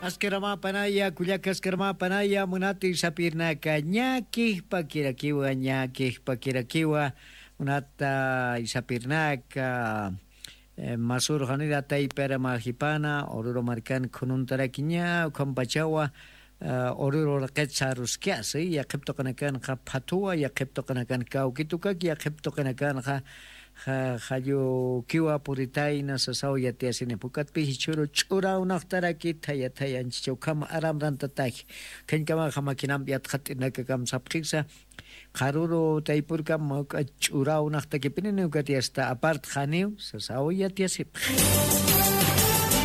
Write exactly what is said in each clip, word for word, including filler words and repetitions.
Askaramäpanaya, kullaka askaramäpanaya, munati sapirnaka, ñakijpakirakiwa, ñakijpakirakiwa, munata sapirnaka, eh, masur janira taypara majipana, Oruro markan khununtarakiña, ukhampachawa, eh, Oruro raqit saruskasa, yaqhip tuqinakanxa phathuwa, yaqhip tuqinakan kawkitukak, yaqhip tuqinakanxa ja-, jallukiwa puritayna sasaw yatiyasini. Pukatpi jichhuru ch'urawnaqtaraki thaya thaya anchicha ukham aramrantataki. Khañkamaxa makinamp yatxat'inaka kamsapxiksa. Qharuru taypurkam mawk'a ch'urawnaqtakipinini ukat yasta apart janiw sasaw yatiyasipxi.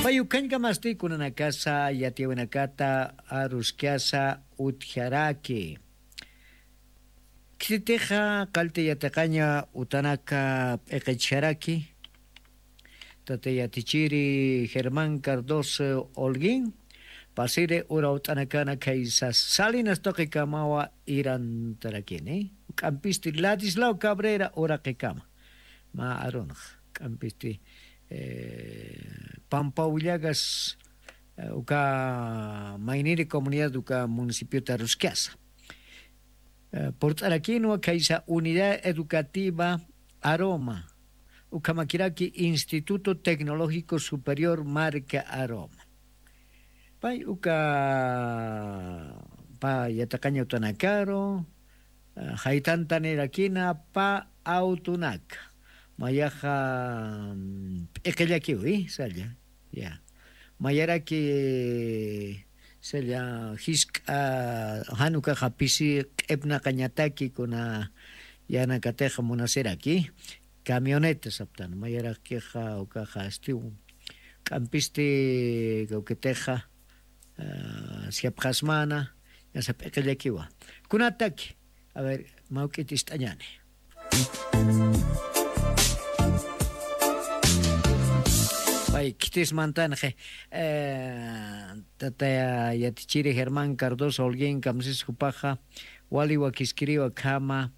Pay ukhañkamasti kunanakasa yatiyawinakata aruskasa utjaraki. Khitixa qallti yatiqaña utanaka p'iqichjaraki, tata yatichiri Germán Cardoso Holguín, pasiri urawt'anakana khaysa Salinas tuqikamawa irantarakini, k'ampisti Ladislao Cabrera uraqikama, mä arunx, k'ampisti, eh, Pampawillagas, eh, uka mayniri comunidad uka municipiota ruskasa. Eh, purt'arakinwa khaysa Unidad Educativa Aroma, ukhamakiraki Instituto Tecnológico Superior Marca Aroma. Pay uka pa yatiqaña utanakaru, eh, jaytantanirakina pa awtunaka. Mayaxa, mm, p'iqillakiwi, salla. Ya. Mayaraki, salla, jisk'a, jan ukaxa pisi q'ipnaqañataki kuna yanakatixa munasiraki, camioneta saptan, mayarakixa ukaxa astiw, k'ampisti kawkitixa, ah, siapxasmana, yasa p'iqillakiwa. Kunataki, a ver, mawk'it ist'añani. Pay, khitis mantanxi, eh, tata yatichiri Germán Cardoso Holguín kamsis jupaxa, wali wakiskiriwa khama,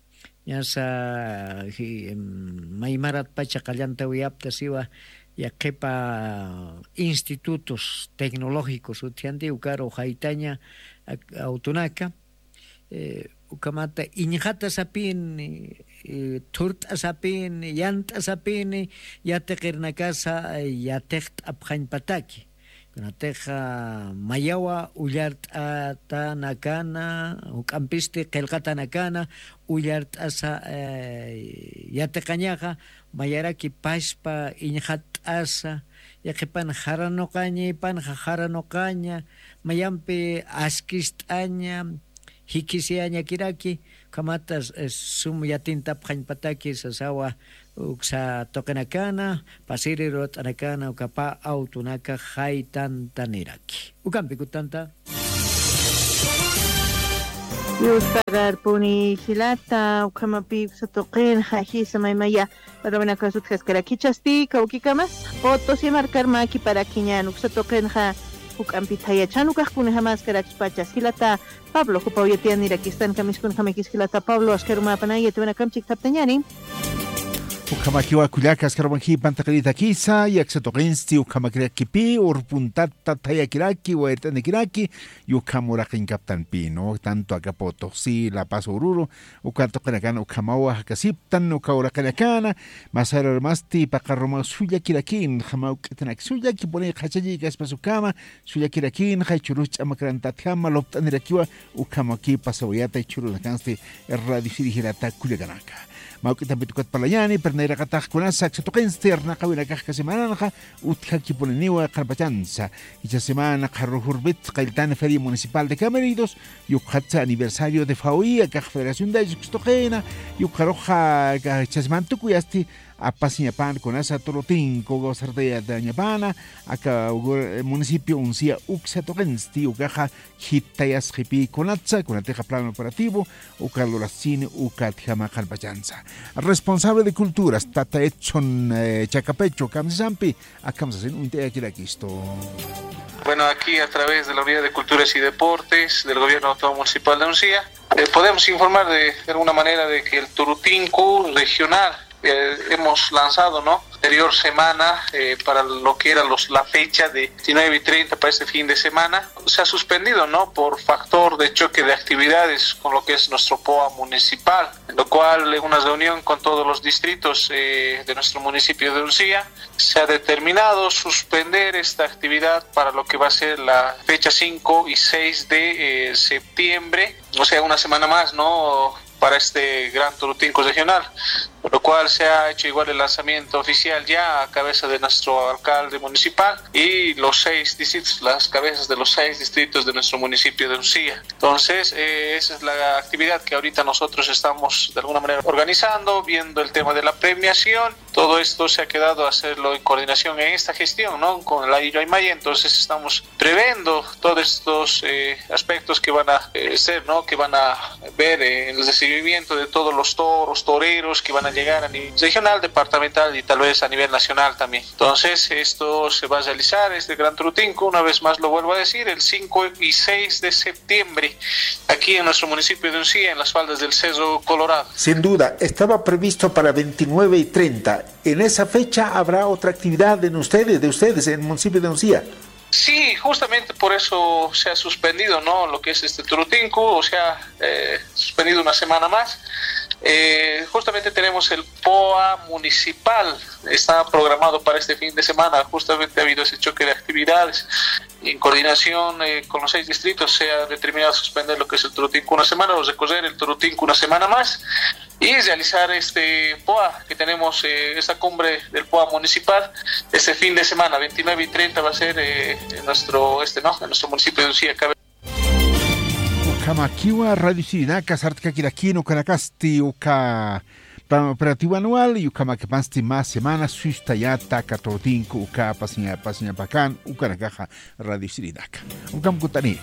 ñasa, ji-, em, maymarat pacha qallantawiyapta siwa, yaqhipa institutos tecnológicos utjanti ukaru jaytaña, ak-, awtunaka, eh, ukhamata iñxata sapini, eh, thurt'a sapini, yant'a sapini, yatiqirnakasa, eh, yatiqt'apxañpataki. Kunatixa mayawa ullart'atanakana, juk'ampisti qillqatanakana, ullart'asa, eh, yatiqañaxa, mayaraki paspa iñxatt'asa, yaqhipan jaranuqaña, ipanxa jaranuqaña, mayampi askist'aña, jikisiyañakiraki, ukhamata, eh, sum yatintapxañpataki sasawa uksa tuqinakana, pasiri ruwat'anakana, ukapa awtunaka jaytantaniraki. Ukampi kutanta. Yuspararpuni jilata, ukhamapi uksa tuqinxa jisa maymaya, Rubén Acaso utjaskarakichasti, kawkikamas, Potosí markar mä kiparakiñän uksa tuqinxa, juk'ampi thayachan ukax kunjamäskarakispachas jilata Pablo, jupaw yatiyanirakistanka miskunjamakis jilata Pablo, askarumäpanay yatiwanakamp chikthaptañäni. Ukhamakiwa kullaka askarumakipan taqiritakisa, aksa tuqinsti ukhamakirakipi, urpuntata thayakiraki, wayrt'anikiraki, y ukham uraqinkaptanpi, ¿no? Tanto aka Potosí, La Paz, Oruro, uka tuqinakan ukhamawa jakasiptan, uka uraqinakana, masararmasti paqarumaw sullakirakinxa, mawk'itanak sullakipuni qhachallïkaspas ukhama, sullakirakinxa, jichhürus ch'amakrantatjama, lupt'anirakiwa, ukhamaki pasawayata, jichhürunakansti, radio siri jilata kullakanaka. Mawk'itampi tukat parlañäni, pero nayraqatax kunasa aksa tuqinsti, arnaqawinakax aka semananxa, utjakipuniniwa qharpachansa. Jichha semana qharürux urpit qalltan Feria Municipal de Cameridos, yukxatsa aniversario de FAOI, akax Federación de Ayllus uksa tuqina, yukxaruxa aka jichha semana tukuyasti apasiñapan kunasa Turutinku kawsartayatañapana, aka ugur, eh, municipio Uncía uksa tuqinsti, ukaxa jitayasxipï kunatsa, kunatixa plan operativo, uka lurasini, ukatjama qharpachansa. Responsable de Culturas, tata Edson, eh, Chacapecho, kamsisampi, akham sasin uñt'ayakirakistu. Bueno, aquí a través de la Unidad de Culturas y Deportes del Gobierno Autónomo Municipal de Uncía, eh, podemos informar de, de alguna manera de que el Turutinku regional eh, hemos lanzado, ¿no? Anterior semana, eh, para lo que era los, la fecha de veintinueve y treinta para este fin de semana, se ha suspendido, ¿no? Por factor de choque de actividades con lo que es nuestro poa municipal, lo cual en una reunión con todos los distritos, eh, de nuestro municipio de Uncía, se ha determinado suspender esta actividad para lo que va a ser la fecha cinco y seis de, eh, septiembre, o sea, una semana más, ¿no? Para este gran Turutinco regional, por lo cual se ha hecho igual el lanzamiento oficial ya a cabeza de nuestro alcalde municipal y los seis distritos, las cabezas de los seis distritos de nuestro municipio de Uncía. Entonces, eh, esa es la actividad que ahorita nosotros estamos de alguna manera organizando, viendo el tema de la premiación. Todo esto se ha quedado a hacerlo en coordinación en esta gestión, ¿no? Con la Illo Aymaya, entonces estamos previendo todos estos, eh, aspectos que van a, eh, ser, ¿no? Que van a ver, eh, el recibimiento de todos los toros, toreros que van a llegar a nivel regional, departamental y tal vez a nivel nacional también. Entonces, esto se va a realizar, este Gran Turutinco, una vez más lo vuelvo a decir, el cinco y seis de septiembre, aquí en nuestro municipio de Uncía, en las faldas del Cerro Colorado. Sin duda, estaba previsto para veintinueve y treinta. En esa fecha habrá otra actividad en ustedes, de ustedes, en el municipio de Uncía. Sí, justamente por eso se ha suspendido, ¿no? Lo que es este Turutinco, o sea, eh, suspendido una semana más. Eh, justamente tenemos el poa municipal, está programado para este fin de semana, justamente ha habido ese choque de actividades. En coordinación, eh, con los seis distritos se ha determinado suspender lo que es el Turutinco una semana, o recorrer el Turutinco una semana más, y realizar este poa que tenemos, eh, esta cumbre del poa municipal este fin de semana, veintinueve y treinta va a ser, eh, en nuestro, este, ¿no? En nuestro municipio de Uncía. Ukhamakiwa Radio Sirinaka sartkakirakinu kanakasti uka programa operativo anual y ukhamakipasti más semana sustayata katortinku uka pasiña pasiña pakan ukanakaxa Radio Sirinaka. Ukam kutani.